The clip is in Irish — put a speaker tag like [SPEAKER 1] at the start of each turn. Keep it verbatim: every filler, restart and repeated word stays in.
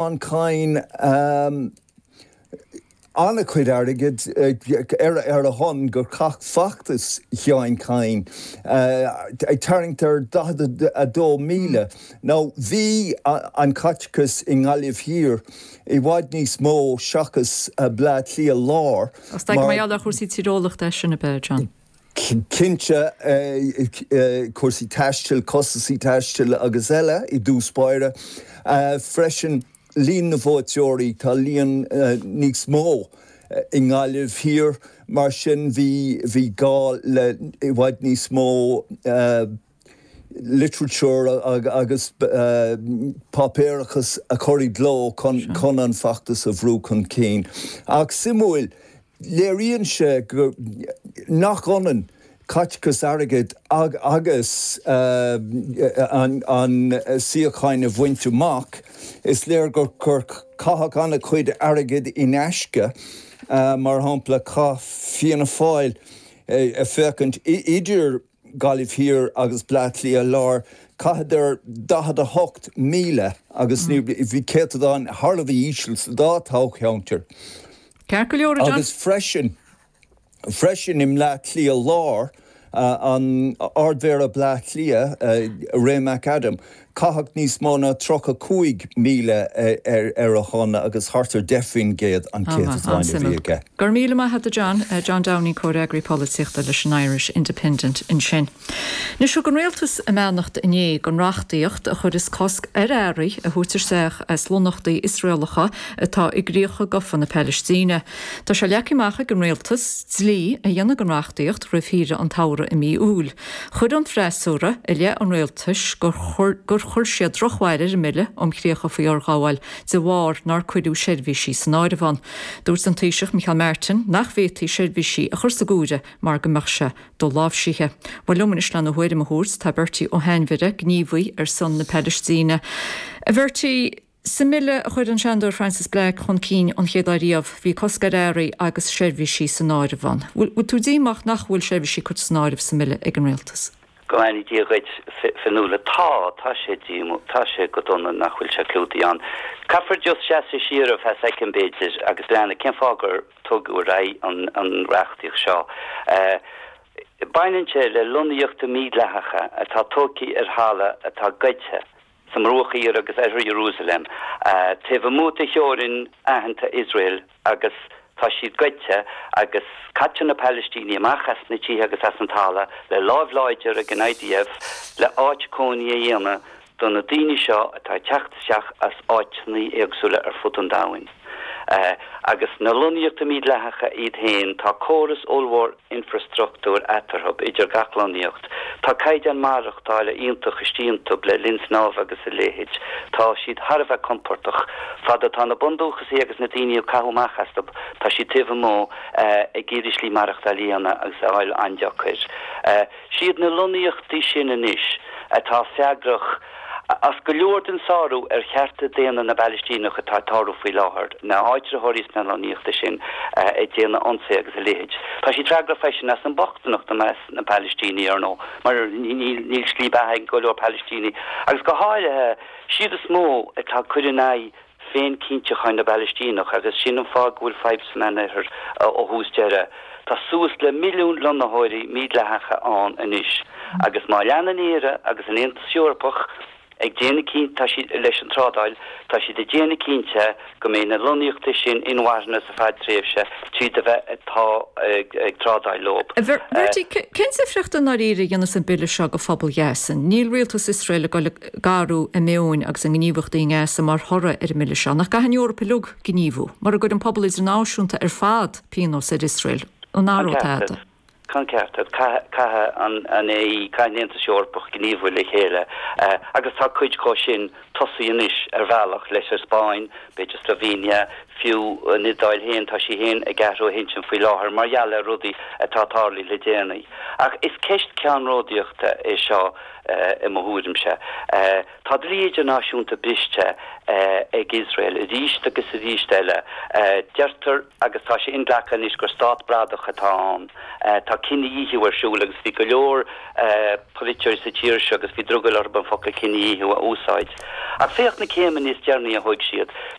[SPEAKER 1] Kyne um, an-chuid airgid ar ar a shon gur chaith feachtas Sheáin Kyne ag tarraingt ar daichead a dó míle. Nó bhí an caiteachas i nGaillimh Thiar i bhfad níos mó seachas Bleá Cliath Lár.
[SPEAKER 2] Mar gheall ar chúrsaí tíreolaíochta sin ab ea, John.
[SPEAKER 1] Cinnte cúrsaí taistil, costaisí taistil agus eile i dtús báire. Freisin líon na vótóirí tá líon níos mó i nGaillimh Thiar mar sin bhí bhí gá le i bhfad níos mó literature agus páipéarachas a chur i gcló chun chun an feachtas a bhrú chun cinn. Ach suimiúil, léiríonn sé go nach ionann caiteachas airgid agus an an suíochán a bhaint amach, is léir gur gur caitheadh an-chuid airgid in aisce, mar shampla chaith Fianna Fáil ag féachaint idir Gaillimh Thiar agus Bleá Cliath Lár, chaitheadar daichead a hocht míle agus ní bhí céatadán thar a bheith íseal sa dá toghcheantar.
[SPEAKER 2] Ceart go leor, John.
[SPEAKER 1] Agus freisin freisin i mBleá Cliath Lár, an Ardmhéara Bleá Cliath, Ray McAdam, caitheadh níos mó ná tríocha cúig míle ar ar a shon agus thart ar deich faoin gcéad an céatadán a bhí aige.
[SPEAKER 2] Go raibh míle maith agat John, John Downing, comhfhreagraí polaitíochta leis an Irish Independent ansin. Anois thug an rialtas a mbeannacht inné don reachtaíocht a chuireas cosc ar earraí a thabhairt isteach as lonnaíochtaí Iosraelacha atá i gcríocha gafa na Palaistíne. Tá sé leagtha amach ag an rialtas dlí a dhéanamh den reachtaíocht roimh shaoire an tsamhraidh i mí Iúil. Chuir an freasúra i leith an rialtais gur gur chuir siad drochbhail ar an mbille um chríocha faoi fhorghabháil de bharr nár cuireadh seirbhísí san áireamh ann. Dúirt an Taoiseach Micheál Martin nach bhféadfaí seirbhísí a chur sa gcomhaireamh mar go mbeadh sé doláimhsithe. Bhuel liom anois lena thuairim a thabhairt tá Bertie Ó hAinmhire, gníomhaí ar son na Palaistíne. A Bhertie, sa mbille a chuir an Seanadóir Frances Black chun cinn an chéad lá riamh, bhí cosc ar earraí agus seirbhísí san áireamh ann. Bhfuil tú díomách nach bhfuil seirbhísí curtha san áireamh sa mbille ag an rialtas?
[SPEAKER 3] Go mbeannaí Dia dhuit Fionnuala tá tá sé díomách tá sé go dona nach bhfuil sé clúdaithe ann. Caithfear just seasamh siar ar feadh soicind b'fhéidir agus breathnú cén fáth gur tugadh ar aghaidh an an reachtaíocht seo. Baineann sé le lonnaíochtaí mídhleathacha atá tógtha ar thalamh atá goidte sa mBruach Thiar agus Oirthear Iarúsailéim, taobh amuigh de theorainn aitheanta Iosrael agus tá siad goidte agus caitear na Palaistínigh amach as na tithe agus as an talamh le láimh láidir ag an IDF le áit cónaí a dhéanamh do na daoine seo atá ag teacht isteach as áiteanna éagsúla ar fud an domhain. Agus na lonnaíochtaí mídhleathacha iad féin, tá córas ollmhór infreastruchtúir eatarthu, idir gach lonnaíocht. Tá caighdeán maireachtála iontach istigh iontu le linn snámha agus a leithéid. Tá siad thar a bheith compordach. Fad atá na bundúchasaigh agus na daoine a caitheadh amach astu, tá siad taobh amuigh ag iarraidh slí maireachtáil a dhéanamh agus a fháil an-deacair. Siad na lonnaíochtaí sin anois atá freagrach as go leor den sárú ar chearta daonna na bPalaistíneach atá ag tarlú faoi láthair, na háitritheoirí sna lonnaíochtaí sin ag déanamh ionsaithe agus a leithéid. Tá siad freagrach freisin as an mbochtaineacht i measc na bPalaistínigh, ar ndóigh, mar níl slí beatha ag go leor Palaistínigh, agus go háirithe siad is mó atá ag cur in aghaidh féinchinntiúcháin na bPalaistíneach agus sin an fáth go bhfuil fadhb sa Meánoirthear ó thús deireadh. Tá suas le milliún lonnaitheoirí mídhleathacha ann anois agus má leanann Éire agus an Aontas Eorpach ag déanamh cinnte, tá siad, leis an trádáil, tá siad ag déanamh cinnte go mbeidh na lonnaíochtaí sin inmharthana sa fadtréimhse tríd a bheith ag trádáil leo.
[SPEAKER 2] A Bhertie, cén difríocht i ndáiríre a dhéanfas an bille seo go phobal Ghaza? Níl rialtas Iosrael ag dul ag athrú a meoin agus a ngníomhaíochtaí i nGaza mar thoradh ar an mbille seo. Nach gcaithfidh an Eoraip uilig gníomhú? Mura gcuireann an pobal idirnáisiúnta ar fad pionós ar Iosrael, an athróidh tada?
[SPEAKER 3] Tá an ceart agat. Caithfidh an AE, caithfidh an Aontas Eorpach gníomhú le chéile agus tá cuid dhó sin tosaithe anois ar bhealach leis an Spáinn, b'fhéidir Slovenia, fiú an Iodáil féin, tá sí féin ag athrú a hintinn faoi láthair mar gheall ar rudaí atá tarlaithe le déanaí. Ach is ceist ceannródaíochta é seo i mo thuairimse. Tá dlí idirnáisiúnta briste ag Iosrael arís agus arís eile. Deirtear, agus tá sé inghlactha anois, gur stát bradach atá ann. Tá cinedhíothú ar siúl agus bhí go leor polaiteoirí sa tír seo agus bhí drogall orthu an focal cinedhíothú a úsáid. Ach féach na céimeanna is deireanaí a thóg siad.